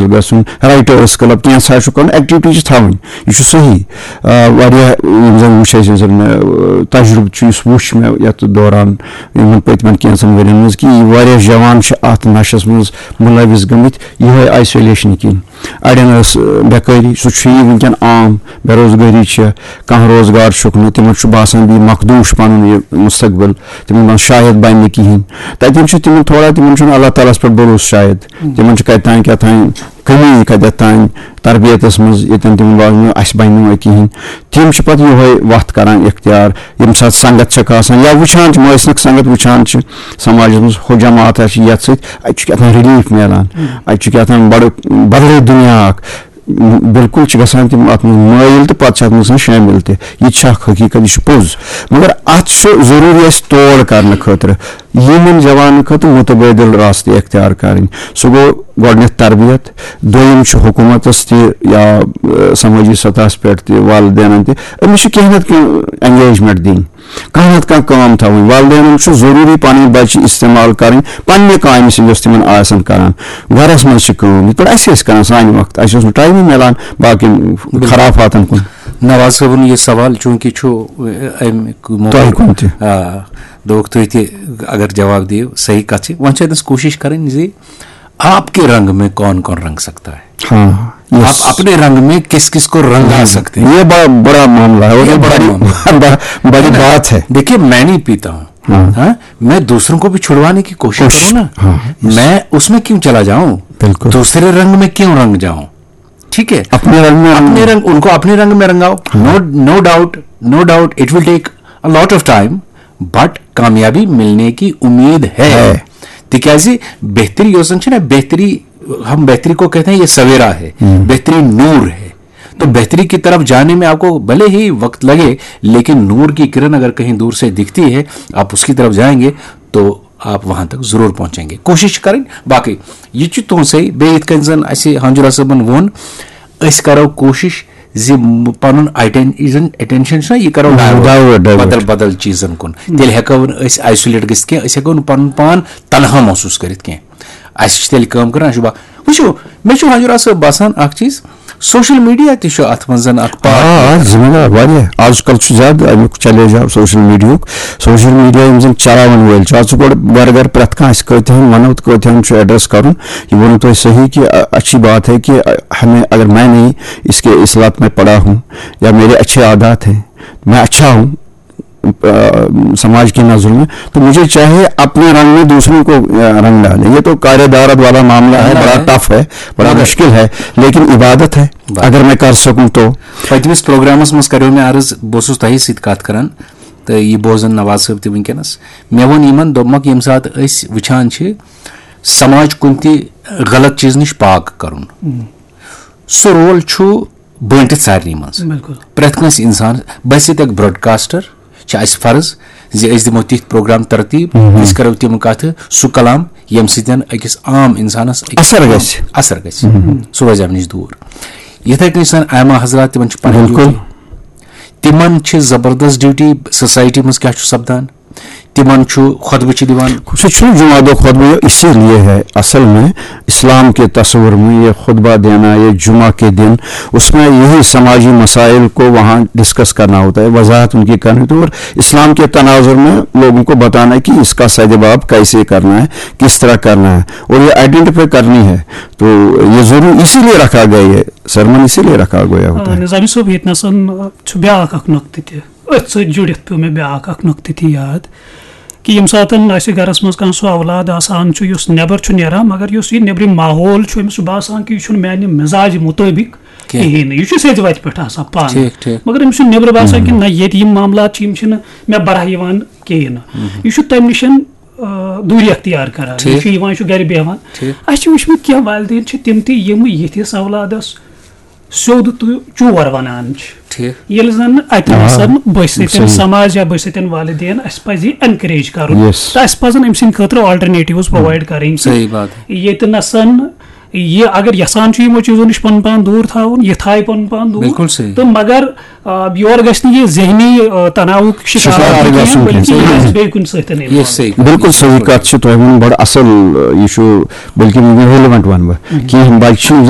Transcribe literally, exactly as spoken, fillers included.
گژھُن، writers club, کینٛژھا چھُ کرُن، ایکٹیویٹی چھِ تھاوٕنۍ۔ یہِ چھُ صحیح۔ آ، واریاہ یِم زن وٕچھ اَسہِ، یِم زن مےٚ، آ، تجربہٕ چھُ، یُس وٕچھ مےٚ یتھ دوران، یِمن پٔتمٮ۪ن کینٛژن ؤرین منٛز، کہِ یہِ واریاہ جوان چھِ اتھ نشس منٛز مُلوث گٔمٕتۍ، یِہوے آیسولیشن کِنۍ۔ اڑٮ۪ن ٲس، آ، بیکٲری، سُہ چھُ یہِ وٕنکیٚن عام، بے روزگٲری چھےٚ، کانٛہہ روزگار چھُکھ نہٕ، تِمن چھُ باسان بیٚیہِ مخدوٗش پنُن یہِ مستقبل، تِمن دپان شاید بنہِ نہٕ کِہینۍ۔ تتٮ۪ن چھُ تِمن تھوڑا، تِمن چھُنہٕ اللہ تعالیٰ ہس پٮ۪ٹھ بھروسہٕ شاید، تِمن چھُ کتہِ تام کیٛاہ تام کمی، کتٮ۪تھ تام تربیتس منٛز، ییٚتٮ۪ن تِمن باسان اسہِ بنہِ نہٕ وۄنۍ کِہینۍ۔ تِم چھِ پتہٕ یِہوے وتھ کران اختیار، ییٚمہِ ساتہٕ سنگت چھکھ آسان یا وٕچھان چھِ، مٲسنک سنگت وٕچھان چھِ، سماجس منٛز ہُہ جماعت آسہِ یتھ سۭتۍ، اتہِ چھُ کیٛاہ تام ریلیف میلان، اتہِ چھُ کیٛاہ تام بڑٕ بدلٕے دُنیا اکھ۔ بِلکُل چھِ گژھان تِم اَتھ منٛز مٲیِل تہٕ پَتہٕ چھِ اَتھ منٛز گژھان شٲمِل تہِ۔ یہِ تہِ چھِ اَکھ حقیٖقت، یہِ چھُ پوٚز۔ مگر اَتھ چھُ ضروٗری اَسہِ تول کَرنہٕ خٲطرٕ یِمَن جوانَن خٲطرٕ مُتبٲدِل راستہٕ اختیار کَرٕنۍ۔ سُہ گوٚو گۄڈٕنٮ۪تھ تربیت، دوٚیِم چھُ حکوٗمتَس تہِ یا، اَ، سمٲجی سطحَس پٮ۪ٹھ تہِ، والدینَن تہِ، أمِس چھِ کینٛہہ نَتہٕ کینٛہہ انگیجمنٹ دِنۍ۔ کانٛہہ نتہٕ کانٛہہ کٲم تھاوٕنۍ۔ والدینن چھُ ضروٗری پنٕنۍ بچہِ استعمال کرٕنۍ پننہِ کامہِ سۭتۍ، یۄس تِمن آسن کران۔ گرس منٛز چھِ کٲم، یِتھ پٲٹھۍ اَسہِ ٲسۍ کران سانہِ وقتہٕ، اَسہِ اوس نہٕ ٹایمٕے میلان باقین خرافاتن کُن۔ نواز صٲبُن یہِ سوال چوٗنٛکہِ چھُ، اَ، اَمہِ موقعہٕ، تۄہہِ کُن تہِ۔ آ، دوٚپُکھ تُہۍ تہِ اگر جواب دِیِو، صحیح کَتھ چھِ۔ وۄنۍ چھِ اَتٮ۪س کوٗشِش کَرٕنۍ زِ آپ کے رنگ میں کون کون رنگ سکتا ہے؟ ہاں، یس۔ آپ اپنے رنگ میں کس کس کو رنگا سکتے ہیں؟ یہ بڑا برا معاملہ ہے، اور یہ یہ بڑا بڑی، معاملہ ہے۔ بڑا، بڑی بات ہے۔ دیکھیے، میں نہیں پیتا ہوں، ہاں۔ ہاں؟ میں دوسروں کو بھی چھڑوانے کی کوشش کوشش، کروں نا۔ ہاں، یس۔ میں اس میں کیوں چلا جاؤں؟ بالکل۔ دوسرے رنگ میں کیوں رنگ جاؤں؟ ٹھیک ہے؟ اپنے رنگ میں اپنے رنگ، ان کو اپنے رنگ میں رنگاؤ۔ ہاں۔ No, no doubt, no doubt, it will take a lot of time, but کامیابی ملنے کی امید ہے۔ ہے۔ تِکیازِ بہتری یۄس زن چھِ نا، بہتری، ہم بہتری کو کہتے ہیں، یہ سویرا ہے، ہم۔ بہتری نور ہے۔ تو بہتری کی طرف جانے میں آپ کو بھلے ہی وقت لگے، لیکن نور کی کرن اگر کہیں دور سے دکھتی ہے، آپ اس کی طرف جائیں گے تو آپ وہاں تک ضرور پہنچیں گے۔ کوشش کریں۔ باقی یہ چھُ تُہنٛد صحیح۔ بیٚیہِ یِتھ کٔنۍ زن اسہِ ہنجرا صٲبن ووٚن، أسۍ کرو کوشش زِ م-، پنُن اٹینشن، اٹینشن چھُنہ، یہِ کرو divert، divert، divert۔ بدل بدل چیٖزن کُن۔ تیٚلہِ ہٮ۪کو نہٕ أسۍ آیسولیٹ گٔژھِتھ کینٛہہ، أسۍ ہٮ۪کو نہٕ پنُن پان تنہا محسوٗس کٔرِتھ کینٛہہ۔ اسہِ چھِ تیٚلہِ کٲم کرٕنۍ، اسہِ چھُ با-، وٕچھِو، مےٚ چھُ ہنجرا صٲب باسان اکھ چیٖز، سوشل میڈیا تہِ چھُ اتھ منٛز زن اکھ part آ، آ، play کران۔ ذمہ دار واریاہ۔ آز کل چھُ زیادٕ امیُک چیلنج آو سوشل میڈیاہُک۔ سوشل میڈیا یِم زن چلاون وٲلۍ چھِ، آز چھُ گۄڈٕ گرٕ گرٕ پرٛٮ۪تھ کانٛہہ، أسۍ کۭتِہن ونو تہٕ کۭتِہن چھُ ایڈریس کرُن۔ یہ بولنا تو صحیح کہ، ا-، اچھی بات ہے کہ، ا-، ہمیں، اگر میں نہیں اس کے اصلاحات میں پڑا ہوں یا میرے اچھے عادات ہیں، میں اچھا ہوں، ا، سماج کی نظروں میں، تو مجھے چاہیے اپنے رنگ میں دوسروں کو، ا، رنگ ڈالے۔ یہ تو کار دارت والا معاملہ ہے، معاملہ بڑا ہے۔ ٹف ہے، بڑا مگر مشکل ہے، لیکن عبادت ہے۔ بس۔ اگر میں کر سکوں تو۔ پٔتمِس پروگرامس منٛز کریو مےٚ عرض، بہٕ اوسُس تۄہہِ سۭتۍ کتھ کران تہٕ یہِ بوزان نواز صٲب تہِ وٕنکیٚنس۔ مےٚ ووٚن یِمن، دوٚپمکھ، ییٚمہِ ساتہٕ أسۍ وٕچھان چھِ سماج کُنہِ تہِ غلط چیٖز نِش پاک کرُن، سُہ رول چھُ بٲنٹِتھ سارنٕے منٛز۔ بِلکُل۔ پرٛٮ۪تھ کٲنٛسہِ اِنسانَس، بحیثیت اکھ براڈکاسٹر چھِ اَسہِ فرض زِ أسۍ دِمو تِتھۍ پروگرام ترتیٖب، أسۍ کرو تِم کتھٕ، سُہ کلام، ییٚمہِ سۭتۍ أکِس عام اِنسانَس أکِس اثر عام گژھِ۔ اثر گژھِ۔ سُہ روزِ اَمہِ نِش دوٗر۔ یِتھَے کٔنۍ چھِ آسان ائمہ حضرات، تِمن چھِ پنٕنۍ بِلکُل۔ ڈیوٹی۔ تِمن چھِ زبردست ڈیوٹی سوسایٹی منٛز کیٛاہ چھُ سپدان۔ تِمن چھُ خطبہٕ چھِ دِوان۔ سُہ چھُنہٕ جمعہ دۄہ خطبہٕ، یہ اسی لیے ہے، اصل میں اسلام کے تصور میں یہ خطبہ دینا، یہ جمعہ کے دن، اس میں یہی سماجی مسائل کو وہاں ڈسکس کرنا ہوتا ہے، وضاحت ان کی کرنی ہوتی ہے اور اسلام کے تناظر میں لوگوں کو بتانا ہے کہ اس کا سد باب کیسے کرنا ہے، کس طرح کرنا ہے، اور یہ آئیڈینٹیفائی کرنی ہے۔ تو یہ ضرور اسی لیے رکھا گیا، یہ سرمن اسی لیے رکھا گیا ہوتا آ، ہے۔ نظامی صٲب، ییٚتہِ نَسَن چھُ بیٛاکھ اکھ نۄقطہٕ تہِ۔ أتھۍ سۭتۍ جُڑِتھ پیوٚو مےٚ بیٛاکھ اکھ نۄقطہٕ تہِ یاد، کہِ ییٚمہِ ساتَن اَسہِ گَرَس منٛز کانٛہہ سُہ اولاد آسان چھُ، یُس نٮ۪بر چھُ نیران، مگر یُس یہِ نیٚبرِم ماحول چھُ، أمِس چھُ باسان کہِ یہِ چھُنہٕ میٛانہِ مِزاج مُطٲبِق کینٛہہ۔ کِہیٖنۍ نہٕ، یہِ چھُ سیٚدِ وَتہِ پٮ۪ٹھ آسان پانہٕ۔ ٹھیٖک، ٹھیٖک۔ مگر أمِس چھُ نیٚبرٕ باسان کہِ نہ، ییٚتہِ یِم معاملات چھِ، یِم چھِنہٕ مےٚ بَرہہ یِوان کِہیٖنۍ نہٕ۔ یہِ چھُ تَمہِ نِش، آ، دوٗری اختیار کران۔ یہِ ٹھیٖک۔ چھُ یِوان، یہِ چھُ گَرِ بیٚہوان۔ ٹھیٖک۔ اَسہِ چھِ وٕچھمٕتۍ کینٛہہ والدین چھِ تِم تہِ، یِم یِتھِس اولادَس سیوٚد تہٕ چور وَنان چھِ۔ ٹھیٖک۔ ییٚلہِ زَن نہٕ اَتہِ آ، آسَن بٔسۍ سۭتۍ صحیح۔ سماج یا بٔسۍ سۭتۍ والدین، اَسہِ پَزِ یہِ encourage کَرُن۔ Yes۔ تہٕ اَسہِ پَزَن أمۍ سٕنٛدِ خٲطرٕ alternatives provide کَرٕنۍ کہِ صحیح بات ہے۔ ییٚتہِ نَسَن یہِ اگر یَژھان چھُ یِمو چیٖزو نِش پَنُن پان دوٗر تھاوُن، یہِ تھایہِ پَنُن پان دوٗر۔ بِلکُل صحیح۔ تہٕ مگر، آ، یورٕ گژھِ نہٕ یہِ ذہنی، آ، تناوُک شِکار شِکار آسُن کینٛہہ، گژھُن بلکہِ کینٛہہ۔ یہِ گژھِ بیٚیہِ کُنہِ سۭتۍ یہِ involve۔ صحیح۔ بِلکُل صحیح کَتھ چھِ تۄہہِ ووٚنمُت، بَڑٕ اَصٕل، آ، یہِ چھُ، بلکہِ relevant وَنہٕ بہٕ۔ کینٛہہ بَچہِ چھِ